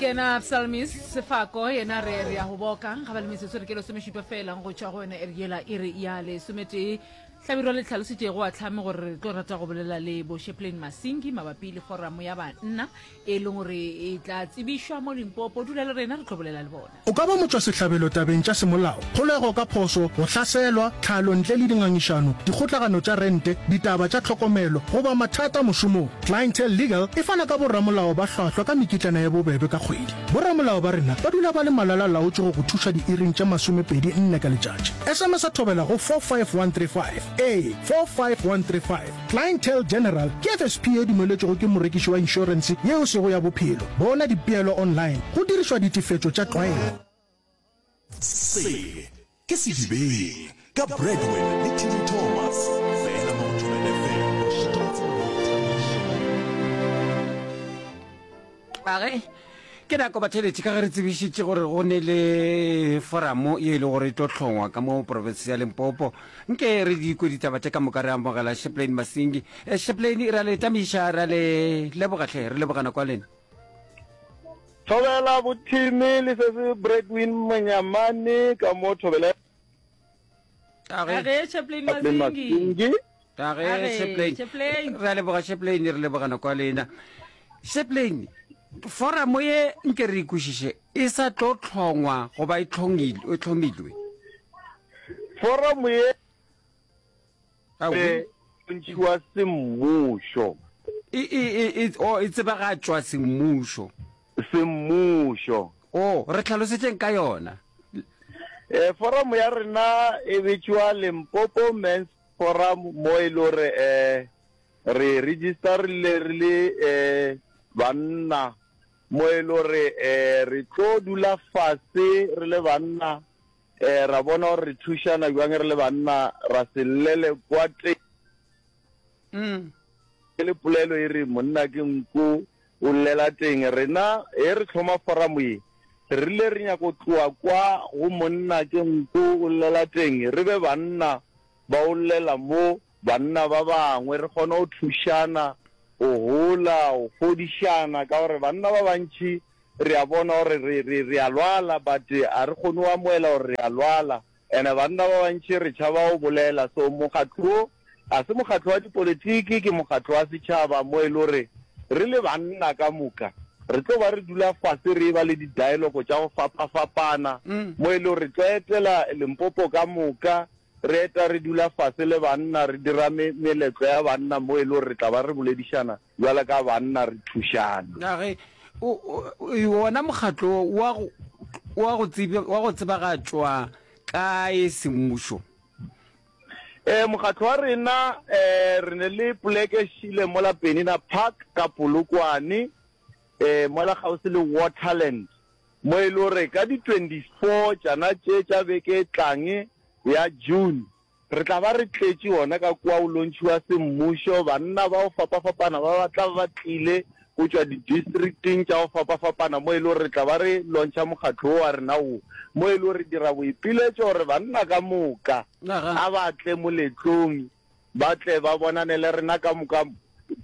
Ke yena Psalmist Sefako, yena re re ya go boka ga ba le metsotso re ke lesomešupa fela go tšwa go yona iri yela iri ya lesometee. Hlabirwa le tlhalositšego a tlhame gore re tlo rata go bolela le bo Sheplain Masingi mabapi le foramo ya banna e leng gore e tla tsebišwa mo Limpopo. Dula le rena re tlo bolela le bona. O ka ba motšwasehlabelo tabeng tša semolao, kgolego ka phošo, go hlaselwa, tlhalo ntle le dingangišano, dikgotlagano tša rente, ditaba tša tlhokomelo, goba mathata mošomong. Clientele Legal e fana ka boramolao ba hlwahlwa ka mekitlana ye bobebe ka kgwedi. Boramolao ba rena ba dula ba le malala-laotšwe go go thuša diiring tše masomepedi nne ka letšatši. SMS-a Thobela go 45135. Ee, 45135. Clientele General ke FSP ye dumeletšwego ke morekiši wa inšorense ye e sego ya bophelo. Bona dipeelo online go dirišwa ditefetšo tša tlwaelo. Se ke Sedibeng ka Bradwin le Timmy Thomas, fela mo go Thobela FM, mošate wa tsebo le boithabišo. A ge ke nako batheletši ka ge re tsebišitše gore go ne le foramo ye e le gore e tlo hlongwa ka mo profense ya Limpopo. Nke re di kwe ditaba tše ka moka re amogela Sheplain Masingi. Eh, Sheplain re a le tamiša, re a le leboga hle, re leboga nako ya lena. Thobela bothimi le se se Bradwin Monyamane ka mo Thobela Age Chaplain Masingi. Age Chaplain. Chaplain. Re a leboga Chaplain, re leboga nako ya lena. Chaplain, foramo ye nke re ikwešiše e sa tlo hlongwa goba e hlongilwe, e hlomilwe? Foramo ye e ntšhiwa semmušo. E, e, e, e, oh, e tsebagatšwa semmušo. Semmušo. Oh, re hlalosetšeng ka yona. Eh, forum ya rena e bitšwa Limpopo Men's Forum mo e le gore eh, re registerile re le eh, banna mo e le gore eh, re tlo dula fase re le banna eh, ra bona gore re thušana bjang re le banna ra se llele kwa teng. Mm. Ke le polelo e re monna ke nku o llela teng. Rena he re hloma foramo ye, re rile re nyako tloa kwa go monna ke nku o llela teng, re be banna ba o llela mo banna ba bangwe, re kgone go thušana, go hola, go fodišana, ka gore banna ba bantši re a bona gore re, re, re a lwala but a re kgone go amoela gore re a lwala. Ene banna ba bantši re tšhaba go bolela. So mokgatlo wo ga se mokgatlo wa dipolitiki, ke mokgatlo wa setšhaba mo e le gore re le banna ka moka re tlo ba re dula fase re eba le di-dialogue tša go fapafapana mo e le gore re tlo etela Limpopo ka moka, re eta re dula fase le banna re dira meletlo ya banna mo e le gore re tla ba re boledišana bjalo ka banna re thušana. A ge wona mokgatlo wo wa go, wa go tsebe, wa go tsebagatšwa kae semmušo? E, mokgatlo wa rena e, re ne le poleke šile mola Penina Park ka Polokwane, e, mola kgauswi le Waterland, mo e le gore ka di 24 tšana tše tša beke e tlang ya June, Re tla ba re tletše gona ka kua go lontšhiwa semmušo, banna ba go fapafapana ba ba tla ba ba tlile go tšwa didistricting tša go fapafapana mo e le gore re tla ba re lontšha mokgatlo wo wa rena wo, mo e le gore re dira boipiletšo gore banna ka moka a ba tle moletlong ba tle ba bonane le rena ka moka.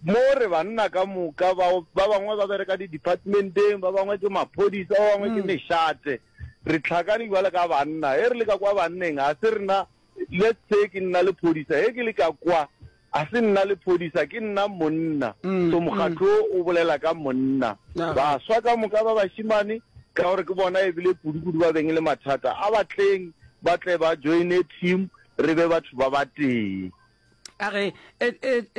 Mo re banna ka moka ba, ba bangwe ba bereka di-departmenteng, ba bangwe ke maphodisa, ba bangwe ke mešate. Re hlakane bjalo ka banna. Ge re le ka kwa banneng, ga se rena, let's say ke nna lephodisa, ge ke le ka kwa, ga se nna lephodisa, ke nna monna. So mokgatlo wo o bolela ka monna. Baswa ka moka ba bašemane, ka gore ke bona ebile kudu-kudu ba beng le mathata, a ba tleng ba tle ba joine team, re be batho ba batee. A re,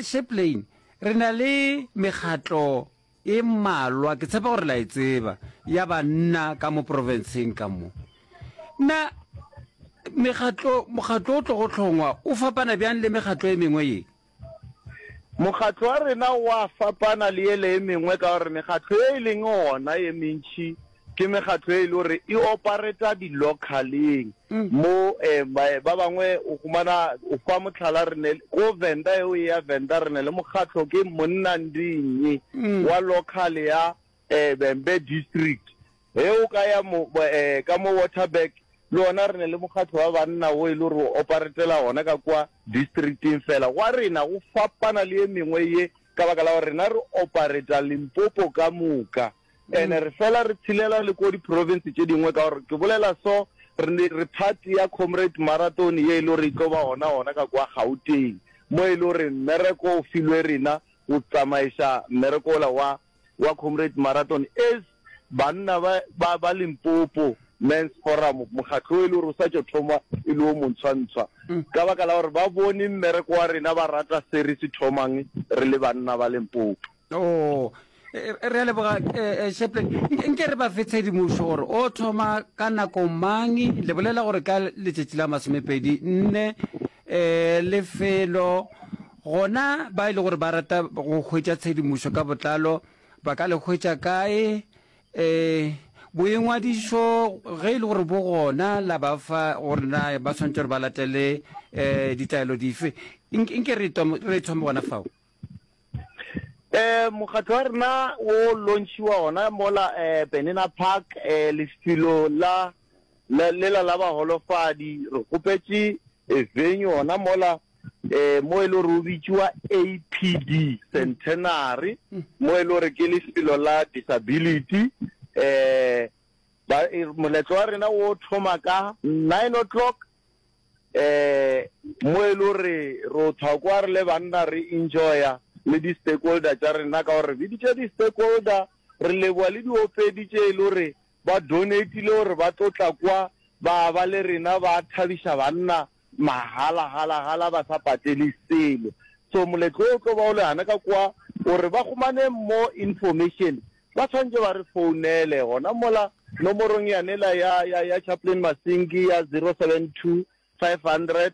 Chaplain, re na le mekgatlo e mmalwa, ke tshepa gore la e tseba, ya banna ka mo profenseng ka mo. Na mekgatlo, mokgatlo o tlogo hlongwa o fapana bjang le mekgatlo e mengwe ye? Mokgatlo wa rena o a fapana le yele e mengwe ka gore mekgatlo ye e leng gona ye mentši Ke mekgatlo e le gore e opareta di-localeng mo ba bangwe o humana o fa mohlala re ne ko Venda eo e ya Venda re ne le mokgatlo ke Monna Ndinyi wa local ya Vhembe district. Ge o ka ya mo ka mo Waterberg le ona re ne le mokgatlo wa banna wo e le gore o oparetela gona ka kwa districting fela. Gwa rena go fapana le e mengwe ye ka baka la gore rena re opareta Limpopo ka moka. Ene re fela re tshelela le ko di-province tše dingwe ka gore ke bolela so re ne re part ya Comrade Marathon ye e le gore e tlo ba gona gona ka kwa Gauteng mo e le gore mmereko o filwe rena go tsamaiša mmereko ola wa wa Comrade Marathon as banna ba ba ba Limpopo Men's Forum mokgatlo o e le gore o sa tšo thoma e le o montshwantshwa ka baka la gore ba bone mmereko wa rena ba rata se re se thomang re le banna ba Limpopo. Oh, re a leboga Chaplain. Nke re ba fe tshedimošo gore o thoma ka nako mang, le bolela gore ka letšatši la masomepedi nne um lefelo gona ba e le gore ba rata go hwetša tshedimošo ka botlalo ba ka le hwetša kae um boingwadišo ge e le gore bo gona la ba fa gore na ba swanetše gore ba latele um ditaelo dife nke re thome gona fao Eh, mokgatlo wa rena o launchiwa gona mola eh, Penina Park eh, lefelo la lela la baholofadi. Re kgopetše eh, venue gona mola eh, mo e le gore o bitšiwa APD Centenary, mo e le gore ke lefelo la disability. Eh, ba, eh, moletlo wa rena o thoma ka 9 o'clock um mo e le gore ro thwa kwa re le banna re enjoya le di-stakeholder tša rena ka gore re biditše di-stakeholder, re leboa le diopedi tše e le gore ba donatile gore ba tlo tla kwa ba ba le rena ba thabiša banna mahala hala hala ba sa patele selo. So moletlo o tlo ba o le gana ka kwa gore ba humane more information Ba swanetše ba re founele gona mola nomorong yanela ya, ya, ya Chaplain Masinki ya 072 500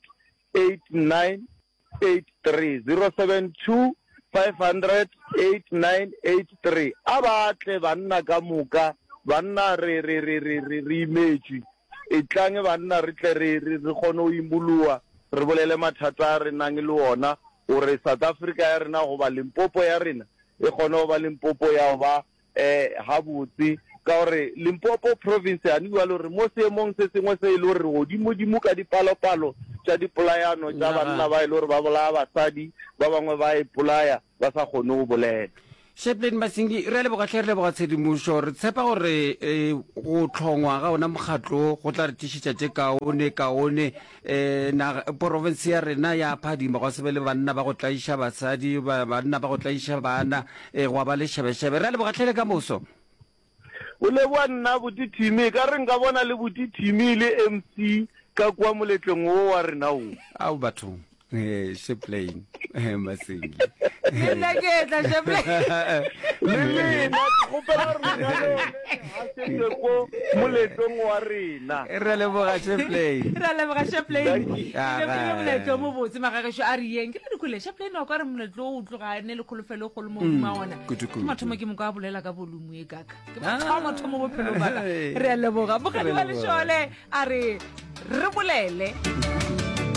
8983, 072 500 8983. A ba tle banna ka moka, banna re, re, re, re, re, re imetšwe. Etlang banna re tle re, re, re kgone go imologa, re bolele mathata a re nang le ona, gore South Africa ya rena goba Limpopo ya rena e kgone go ba Limpopo ya go ba gabotse, ka gore Limpopo province gane bjalo re mo seemong se sengwe se e le gore re godimodimo ka dipalopalo tša dipolayano tša banna ba e le gore ba bolaya basadi, ba bangwe ba ipolaya ba sa kgone go bolela. Chaplain Masingi, re a leboga hle, re leboga tshedimošo. Re tshepa gore go hlongwa ga ona mokgatlo wo go tla re tlišetša tše kaone kaone. E, naga, porofense ya rena ya phadima, gwa se be le banna ba go tlaiša basadi, ba, banna ba go tlaiša bana, e, gwa ba le šebešebe. Re a leboga hle le ka moso. O leboga nna Buti Timmy, e ka re nka bona le Buti Timmy le MC ka kua moletlong wo wa rena wo. Ao bathong. Eh, Chaplain eh, Masingi. Le nna ke etla Chaplain. Le lena ke kgopela gore lena le one le gašetše ko moletlong wa rena. Re a leboga Chaplain. Re a leboga Chaplain. Thank you. E be moletlo o mobotse magagešo a re yeng. Ke le dikhole Chaplain wa kwa re moletlo o tloga ne le kholofelo e kgolo mo godimo ga ona. Kudu, Ke kudu. mathomo ke moko a bolela ka volume e kaka. Ke Ah. mathomo thomo bophelong ba ka. Hey. Re a leboga. Bogadi Re wa leboga. lešole a re re bolele.